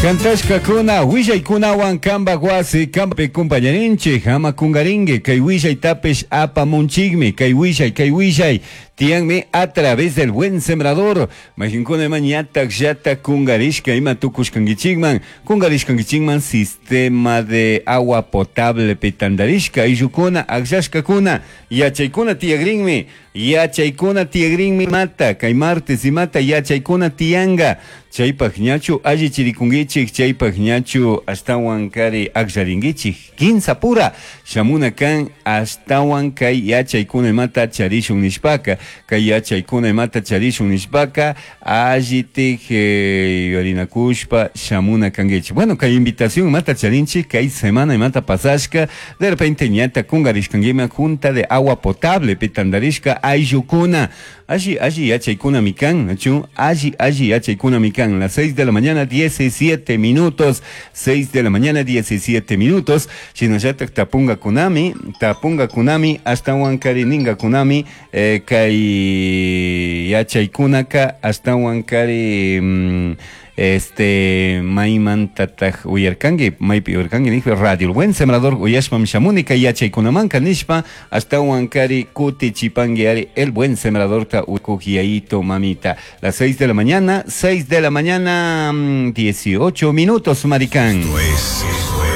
Cantashkakuna willaykunawan kambak wasi kampi kumpañarinchik ama kungarinki kay willaytapish apamunchikmi kay willay kay willay tiyanmi a través del Buen Sembrador. Mayqinkuna ima ñatak llatak kungarishka ima tukushkankichikman kungarishkankichikman sistema de agua potable pi tantarishka ayllukuna akllashkakuna yachaykuna tiyakrinmi yachaykuna tiyakrinmi imata kay martes imata yachaykuna tiyanka chaypak ñachu allichirikunkichik chaypak ñachu ashtawan kari akllarinkichik kinsa pura shamuna kan ashtawan kay yachaykuna imata charishun nishpaka kay yachaykuna imata charishun nishpaka allitik yuyarinakushpa shamuna kankichik. Bueno, kay invitación imata charinchik kay semana imata pasashka de repente ñata kungarishkankiman junta de agua potable pi tantarishka ayllukuna alli alli yachaykunami kan nachu alli alli yachaykunami kan. Las 6 de la mañana 17 minutos, 6 de la mañana 17 minutos, shinallatak tapungakunami tapungakunami ashtawan kari ningakunami kay yachaykunaka ashtawan kari maymantataj uyarkanki maypi uyarkanki nishpa Radio El Buen Sembrador uyashpam shamuni kay yachaykunamanka nishpa ashtawan kari kutichipanki ari El Buen Sembradorta ukuk yayito mamita. Las 6 de la mañana, 6 de la mañana, 18 minutos, Maricán. Esto es.